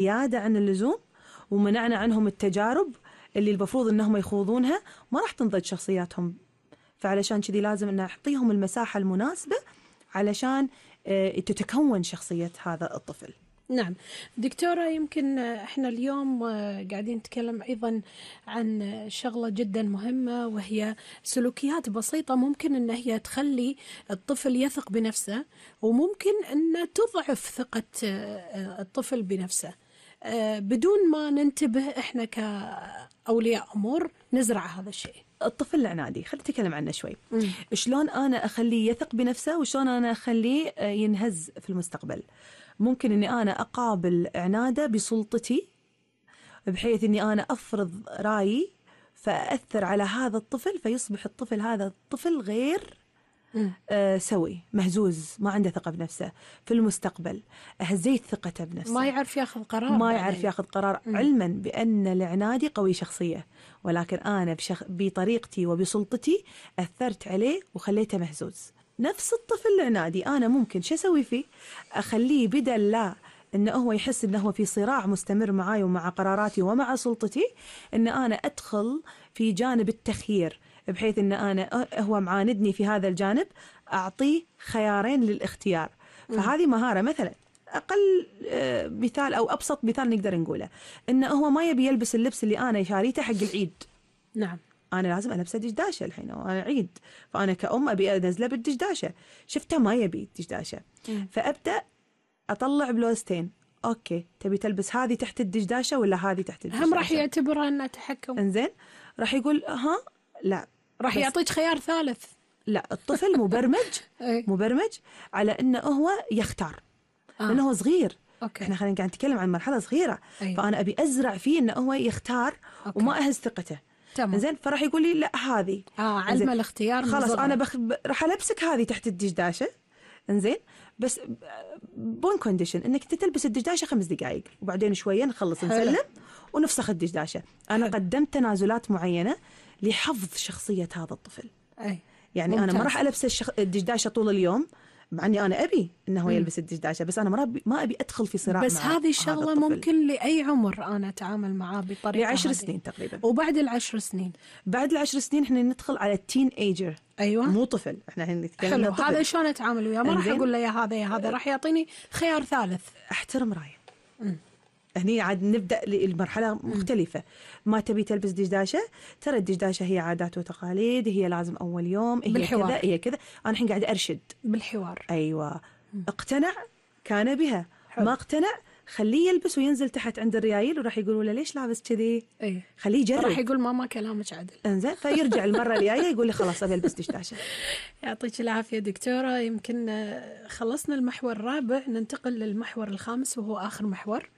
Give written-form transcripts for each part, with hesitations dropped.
زيادة عن اللزوم ومنعنا عنهم التجارب اللي المفروض أنهم يخوضونها، ما راح تنضج شخصياتهم. فعلشان كذي لازم أن أعطيهم المساحة المناسبة علشان تتكون شخصية هذا الطفل. نعم دكتورة، يمكن احنا اليوم قاعدين نتكلم أيضا عن شغلة جدا مهمة، وهي سلوكيات بسيطة ممكن أن هي تخلي الطفل يثق بنفسه، وممكن أن تضعف ثقة الطفل بنفسه بدون ما ننتبه احنا كأولياء أمور نزرع هذا الشيء. الطفل العنادي خلينا نتكلم عنه شوي. شلون أنا أخليه يثق بنفسه وشلون أنا أخليه ينهز في المستقبل؟ ممكن أني أنا أقابل عناده بسلطتي، بحيث أني أنا أفرض رأيي فأثر على هذا الطفل، فيصبح الطفل هذا الطفل غير سوي، مهزوز، ما عنده ثقة بنفسه. في المستقبل أهزيت ثقته بنفسه، ما يعرف ياخذ قرار، ما يعرف ياخذ قرار، علما بأن العنادي قوي شخصية، ولكن أنا بطريقتي وبسلطتي أثرت عليه وخليته مهزوز. نفس الطفل العنادي أنا ممكن شو أسوي فيه؟ أخليه بدل لا إنه هو يحس إنه هو في صراع مستمر معاي ومع قراراتي ومع سلطتي، إن أنا أدخل في جانب التخيير، بحيث إن أنا هو معاندني في هذا الجانب، أعطيه خيارين للاختيار. فهذه مهارة. مثلا أقل مثال أو أبسط مثال نقدر نقوله، إنه هو ما يبي يلبس اللبس اللي أنا شاريته حق العيد. نعم. أنا لازم ألبسه دشداشة الحين وأنا عيد، فأنا كأم أبي أنزله بالدشداشة، شفته ما يبي دشداشة، فأبدأ أطلع بلوزتين. أوكي، تبي تلبس هذه تحت الدشداشة ولا هذه تحت الدشداشة؟ هم راح يعتبرها أنها تحكم. إنزين، راح يقول لا، راح يعطيك خيار ثالث. لا، الطفل مبرمج على إنه هو يختار، لأنه هو صغير. أوكي. إحنا خلينا نتكلم عن مرحلة صغيرة. أيوة. فأنا أبي أزرع فيه إنه هو يختار. أوكي. وما أهز ثقته. إنزين، فراح يقول لي لا هذه. علم الاختيار. خلاص أنا راح ألبسك هذه تحت الدشداشة. إنزين، بس بون كونديشن إنك تلبس الدشداشة 5 دقائق، وبعدين شوية نخلص نسلم ونفسخ الدشداشة. أنا قدمت تنازلات معينة لحفظ شخصية هذا الطفل. يعني ممتاز. أنا ما راح ألبس الدشداشة طول اليوم، مع أني أنا أبي إنه يلبس الدشداشة، بس أنا ما أبي أدخل في صراع. بس هذه الشغلة ممكن لأي عمر أنا أتعامل معاه بطريقة 10 سنين تقريبا. وبعد 10 سنين، بعد 10 سنين إحنا ندخل على التين ايجر. أيوة. مو طفل، إحنا نتكلم. حلو، هذا شلون أتعامل وياه؟ ما راح أقول له يا هذا راح يعطيني خيار ثالث. أحترم رأيه. هني عاد نبدأ للمرحلة مختلفة. ما تبي تلبس دشداشة، ترى الدشداشة هي عادات وتقاليد، هي لازم أول يوم، هي بالحوار. كذا هي كذا. أنا الحين قاعد أرشد بالحوار. أيوة. اقتنع كان بها. حلو. ما اقتنع خليه يلبس وينزل تحت عند الريايل، وراح يقولوا له ليش لابس كذي؟ خليه يجرب. راح يقول ماما كلامك عدل. انزين، فيرجع المرة الجاية يقول لي خلاص أبي ألبس دشداشة. يعطيك العافية دكتورة. يمكن خلصنا المحور الرابع، ننتقل للمحور الخامس وهو آخر محور.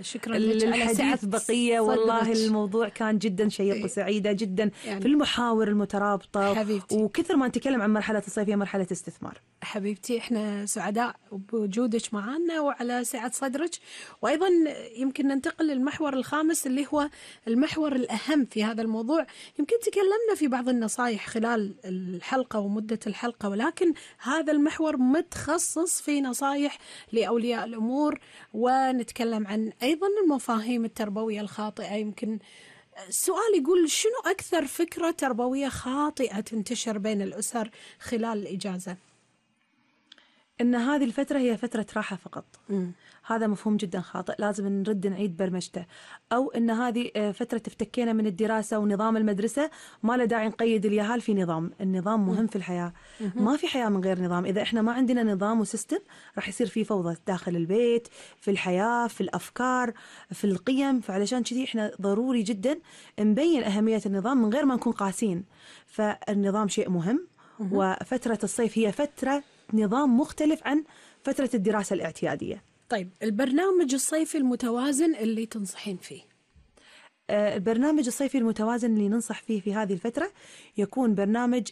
شكرا لك على الحديث بقية. والله الموضوع كان جدا شيق وسعيدة جدا يعني في المحاور المترابطة حبيبتي. وكثر ما نتكلم عن مرحلة الصيف هي مرحلة استثمار. حبيبتي احنا سعداء بوجودك معنا وعلى سعة صدرك. وأيضا يمكن ننتقل للمحور الخامس اللي هو المحور الأهم في هذا الموضوع. يمكن تكلمنا في بعض النصائح خلال الحلقة ومدة الحلقة، ولكن هذا المحور متخصص في نصائح لأولياء الأمور، ونتكلم عن أيضا المفاهيم التربوية الخاطئة. يمكن السؤال يقول شنو أكثر فكرة تربوية خاطئة تنتشر بين الأسر خلال الإجازة؟ إن هذه الفترة هي فترة راحة فقط. هذا مفهوم جدا خاطئ، لازم نرد نعيد برمجته. أو إن هذه فترة افتكينا من الدراسة ونظام المدرسة، ما له داعي نقيد اليهال في نظام. النظام مهم في الحياة. ما في حياة من غير نظام. إذا إحنا ما عندنا نظام وسيستم راح يصير في فوضى داخل البيت، في الحياة، في الأفكار، في القيم. فعلشان كذي إحنا ضروري جدا نبين أهمية النظام من غير ما نكون قاسين. فالنظام شيء مهم. وفترة الصيف هي فترة نظام مختلف عن فترة الدراسة الاعتيادية. طيب، البرنامج الصيفي المتوازن اللي تنصحين فيه؟ البرنامج الصيفي المتوازن اللي ننصح فيه في هذه الفترة يكون برنامج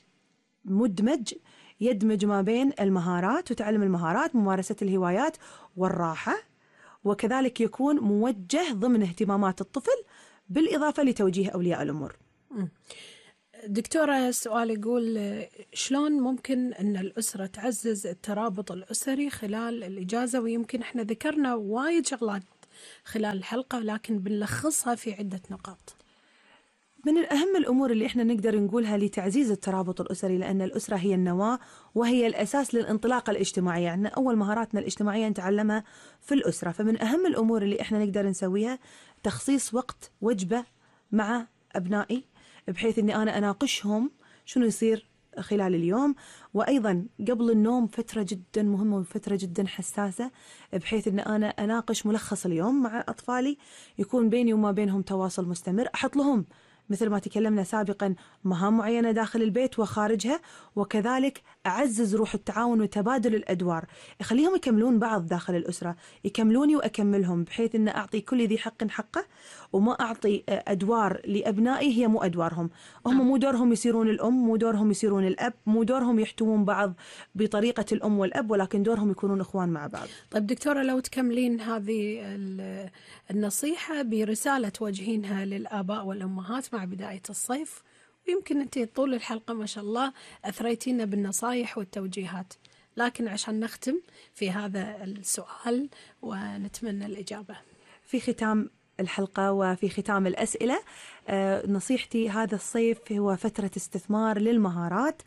مدمج، يدمج ما بين المهارات وتعلم المهارات، ممارسة الهوايات والراحة، وكذلك يكون موجه ضمن اهتمامات الطفل بالإضافة لتوجيه أولياء الأمور. دكتورة، السؤال يقول شلون ممكن أن الأسرة تعزز الترابط الأسري خلال الإجازة؟ ويمكن إحنا ذكرنا وايد شغلات خلال الحلقة، ولكن بنلخصها في عدة نقاط. من الأهم الأمور اللي إحنا نقدر نقولها لتعزيز الترابط الأسري، لأن الأسرة هي النواة وهي الأساس للانطلاقة الاجتماعية. يعني أول مهاراتنا الاجتماعية نتعلمها في الأسرة. فمن أهم الأمور اللي إحنا نقدر نسويها تخصيص وقت وجبة مع أبنائي، بحيث أني أنا أناقشهم شنو يصير خلال اليوم. وأيضا قبل النوم فترة جدا مهمة وفترة جدا حساسة، بحيث أن أنا أناقش ملخص اليوم مع أطفالي، يكون بيني وما بينهم تواصل مستمر. أحط لهم مثل ما تكلمنا سابقا مهام معينة داخل البيت وخارجها، وكذلك أعزز روح التعاون وتبادل الأدوار، أخليهم يكملون بعض داخل الأسرة، يكملوني وأكملهم، بحيث أن أعطي كل ذي حق حقه، وما أعطي أدوار لأبنائي هي مو أدوارهم. هم مو دورهم يصيرون الأم، مو دورهم يصيرون الأب، مو دورهم يحتوون بعض بطريقة الأم والأب، ولكن دورهم يكونون إخوان مع بعض. طيب دكتورة، لو تكملين هذه النصيحة برسالة توجهينها للآباء والأمهات مع بداية الصيف، ويمكن أنت طول الحلقة ما شاء الله أثريتينا بالنصائح والتوجيهات، لكن عشان نختم في هذا السؤال ونتمنى الإجابة في ختام الحلقة وفي ختام الأسئلة، نصيحتي هذا الصيف هو فترة استثمار للمهارات،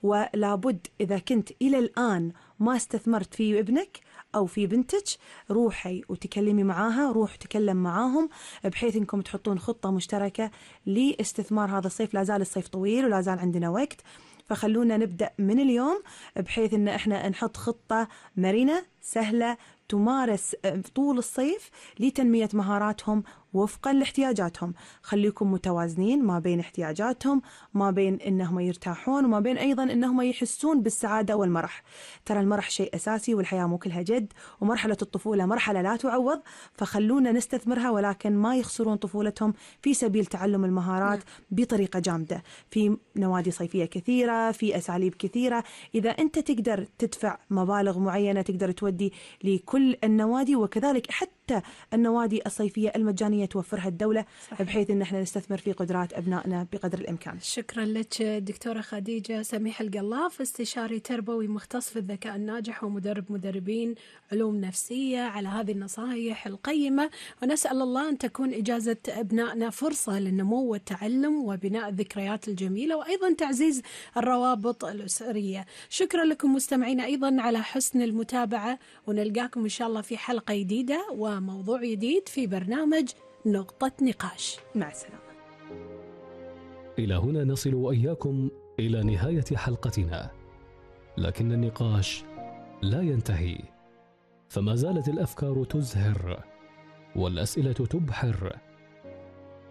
ولابد إذا كنت إلى الآن ما استثمرت في ابنك أو في بنتك، روحي وتكلمي معاها، روح تكلم معاهم، بحيث إنكم تحطون خطة مشتركة لاستثمار هذا الصيف. لا زال الصيف طويل ولا زال عندنا وقت، فخلونا نبدأ من اليوم، بحيث إن إحنا نحط خطة مرنة سهلة تمارس طول الصيف لتنمية مهاراتهم وفقا لاحتياجاتهم. خليكم متوازنين ما بين احتياجاتهم، ما بين إنهم يرتاحون، وما بين أيضا إنهم يحسون بالسعادة والمرح. ترى المرح شيء أساسي، والحياة مو كلها جد، ومرحلة الطفولة مرحلة لا تعوض، فخلونا نستثمرها، ولكن ما يخسرون طفولتهم في سبيل تعلم المهارات بطريقة جامدة. في نوادي صيفية كثيرة، في أساليب كثيرة، إذا أنت تقدر تدفع مبالغ معينة تقدر تودي لكل النوادي، وكذلك حتى النوادي الصيفية المجانية توفرها الدولة، بحيث أن احنا نستثمر في قدرات أبنائنا بقدر الإمكان. شكرا لك دكتورة خديجة سميح القلاف، استشاري تربوي مختص في الذكاء الناجح ومدرب مدربين علوم نفسية، على هذه النصائح القيمة. ونسأل الله أن تكون إجازة أبنائنا فرصة للنمو والتعلم وبناء الذكريات الجميلة، وأيضا تعزيز الروابط الأسرية. شكرا لكم مستمعين أيضا على حسن المتابعة، ونلقاكم إن شاء الله في حلقة جديدة وموضوع جديد في برنامج نقطة نقاش. مع السلامة. إلى هنا نصل وإياكم إلى نهاية حلقتنا، لكن النقاش لا ينتهي، فما زالت الأفكار تزهر، والأسئلة تبحر،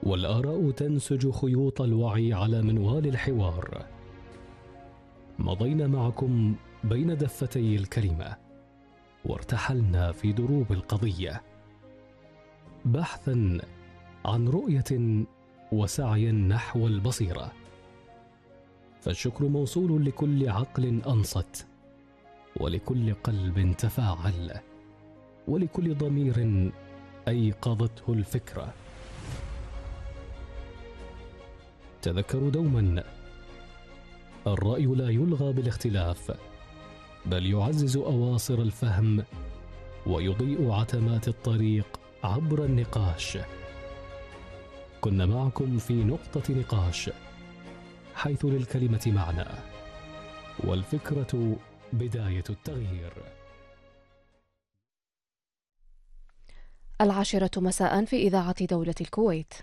والآراء تنسج خيوط الوعي على منوال الحوار. مضينا معكم بين دفتي الكلمة، وارتحلنا في دروب القضية، بحثا عن رؤية وسعيا نحو البصيرة. فالشكر موصول لكل عقل أنصت، ولكل قلب تفاعل، ولكل ضمير أيقظته الفكرة. تذكروا دوما، الرأي لا يلغى بالاختلاف، بل يعزز أواصر الفهم ويضيء عتمات الطريق عبر النقاش. كنا معكم في نقطة نقاش، حيث للكلمة معنى، والفكرة بداية التغيير. 10 مساء في إذاعة دولة الكويت.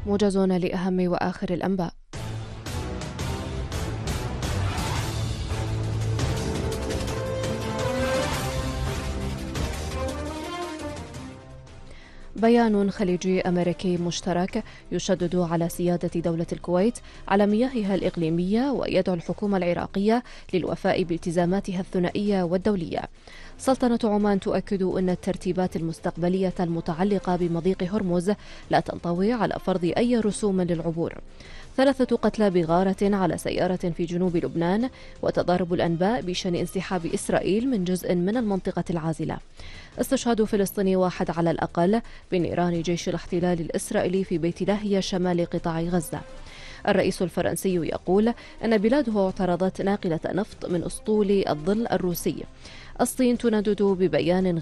موجز لأهم وآخر الأنباء. بيان خليجي أمريكي مشترك يشدد على سيادة دولة الكويت على مياهها الإقليمية، ويدعو الحكومة العراقية للوفاء بالتزاماتها الثنائية والدولية. سلطنة عمان تؤكد أن الترتيبات المستقبلية المتعلقة بمضيق هرمز لا تنطوي على فرض أي رسوم للعبور. 3 قتلى بغارة على سيارة في جنوب لبنان، وتضارب الأنباء بشأن انسحاب إسرائيل من جزء من المنطقة العازلة. استشهاد فلسطيني 1 على الأقل بنيران جيش الاحتلال الإسرائيلي في بيت لاهيا شمال قطاع غزة. الرئيس الفرنسي يقول أن بلاده اعترضت ناقلة نفط من أسطول الظل الروسي. الصين تندد ببيان